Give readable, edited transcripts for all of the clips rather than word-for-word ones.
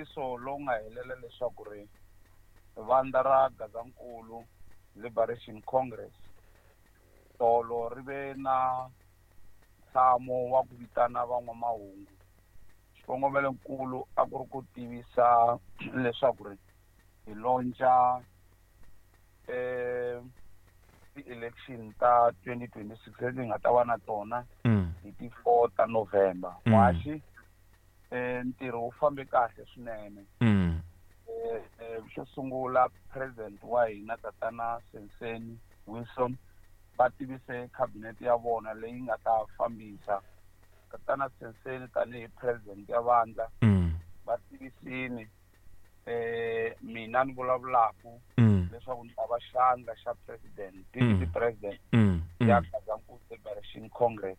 Nkandziyiso lowu nga helela leswaku ri vandla ra Gazankulu Liberation Congress tolo ri ve na ntshamo wa ku vitana van'wamahungu. Xikongomelonkulu a ku ri ku tivisa leswaku ri hi launcha ti-election ta 2026 leti hi nga ta va na tona hi ti-4 ta November. Muhaxi, ntirho wu fambe kahle swinene. Xo sungula, president wa hina, Tatana Senseni Wilson, va tivise cabinet ya vona leyi nga ta fambisa. Tatana Senseni tanihi president ya vandla va tivisini mina ni vulavulaku leswaku ni ta va xandla xa president, deputy president ya Gazankulu Liberation Congress.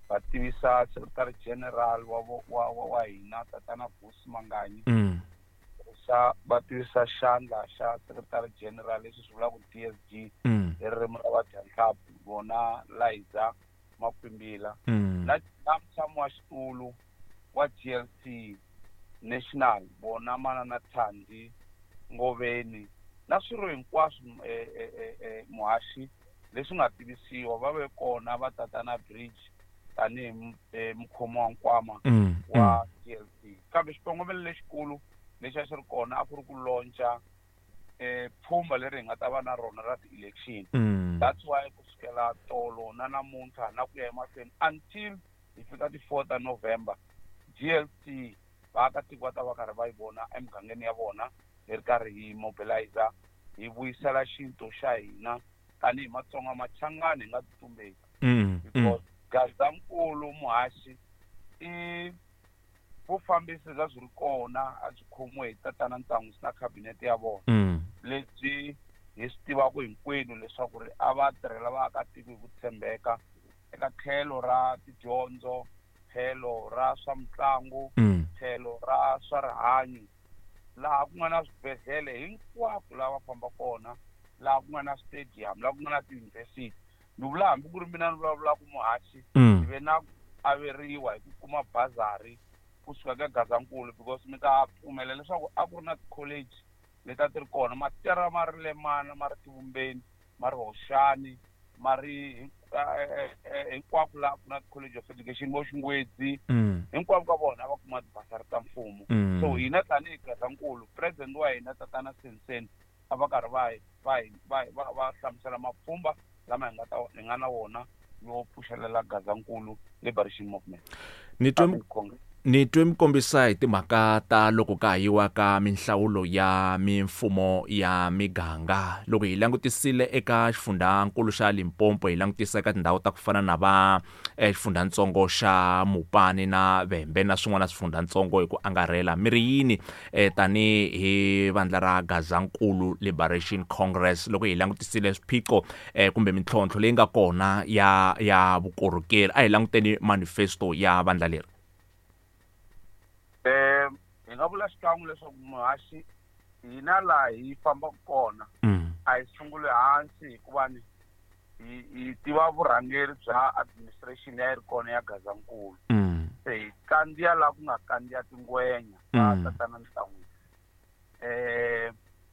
Va tivisa secretary general wa hina, Tatana Vusi Manganyi, xa va tivisa xandla xa secretary general, leswi swi vulaka DSG hi ririmi ra vadyanhlampfi, vona Liza Makwimbila, na mutshami wa xitulu wa GLC National, vona Manana Thandi Ngoveni, na swirho hinkwaswo, muhaxi, leswi nga tivisiwa. Va ve kona va Tatana Bridge tanihi mukhomi wa nkwama wa GLC. Kambe xikongomelo lexikulu lexi a xi ri kona a ku ri ku launcha pfhumba leri hi nga ta va na rona ra ti-election. That's why kusukela tolo na namuntlha na ku ya emahlweni until hi fika ti-4 ta November, GLC vaakatiko va ta va karhi va yi vona emugangeni ya vona hi ri karhi hi mobilizer, hi vuyisela xintu xa hina tanihi Matsonga Machangani, hi nga titumbeki, because Gazankulu, muhaxi, i vufambisi bya byi ri kona, a byi khomiwe hi Tatana Ntsan'wisi na khabinete ya vona, lebyi hi swi tivaka hinkwenu leswaku ri a va tirhela vaakatiko hi ku tshembeka eka tlhelo ra tidyondzo, tlhelo ra swa mitlangu, tlhelo ra swa rihanyo, laha ku nga na swibedhlele hinkwako laha va famba kona, laha ku nga na stadium, laha ku nga na tiyunivhesiti. Ni vula hambi ku ri mina ni vulavulaka, muhaxi, hi ve na ku averiwa hi ku kuma bazari kusuka ka Gazankulu, because mi ta pfumela leswaku a ku ri na ti-college leti a ti ri kona, matera ma ri Lemana, ma ri Tivumbeni, ma ri Hoxani, ma ri hinkwako laha ku na college of education, vo Xingwedzi, hinkwavo ka vona a va kuma tibasari ta mfumo. So hina tanihi Gazankulu, president wa hina, Tatana Senseni, a va karhi va hlamusela mapfhumba lama hi nga ta hi nga na wona yo pfuxelela Gazankulu Liberation Movement. Ni twe ni twe mi kombisa hi timhaka ta loko ka ha yiwa ka minhlawulo ya mimfumo ya miganga. Loko hi langutisile eka xifundzankulu xa Limpopo, hi langutisa eka tindhawu ta ku fana na va xifundzatsongo xa Mupani na Vhembe na swin'wana swifundzatsongo hi ku angarhela, mi ri yini tanihi vandla ra Gazankulu Liberation Congress loko hi langutisile swiphiqo kumbe mintlhontlho leyi nga kona ya vukorhokeri? A hi languteni manifesto ya vandla leri. Hi nga vula xikan'we leswaku, muhaxi, hina laha hi fambaka kona a hi sunguli hansi, hikuva ni hi tiva vurhangeri bya administration ya yi ri kona ya Gazankulu. Se hi kandziya laha ku nga kandziya tingwenya va Tatana Ntlangwini.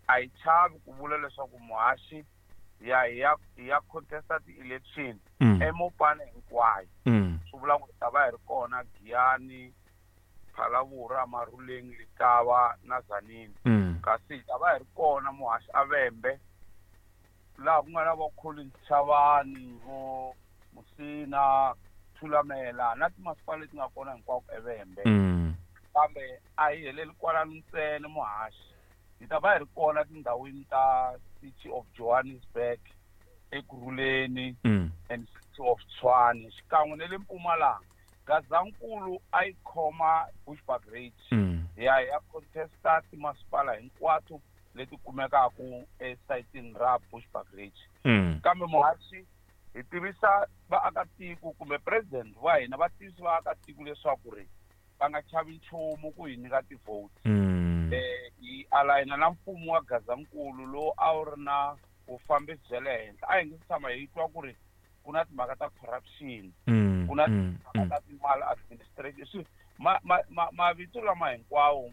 A hi chavi ku vula leswaku, muhaxi, hi ya contesta ti-election eMopani hinkwayo. Swi vula ku hi ta va hi ri kona Giyani, Phalaborwa, Maruleng, Letaba na Tzaneen. Kasi hi ta va hi ri kona, muhaxi, aVhembe, laha ku nga na vo Collins Chavani, vo Musina, Thulamela na timasipala leti nga kona hinkwako eVhembe. Kambe a hi heleli kwalano ntsena, muhaxi. Hi ta va hi ri kona tindhawini ta City of Johannesburg, Ekurhuleni and City of Tshwane, xikan'we na le Mpumalanga. Gazankulu a yi khoma Bushbuckridge. Hi ya contesta timasipala hinkwato leti kumekaka esayitini ra Bushbuckridge. Kambe, muhaxi, hi tivisa vaakatiko, kumbe president wa hina va tivisa vaakatiko leswaku ri va nga chavi nchumu ku hi nyika ti-votes. Hi alayina na mfumo wa Gazankulu lowu a wu ri na vufambisi bya le henhla. A hi nge se tshama hi twa ku ri ku na timhaka ta corruption, ku na timhaka ta ti-maladministration. Swi mavito lama hinkwawo.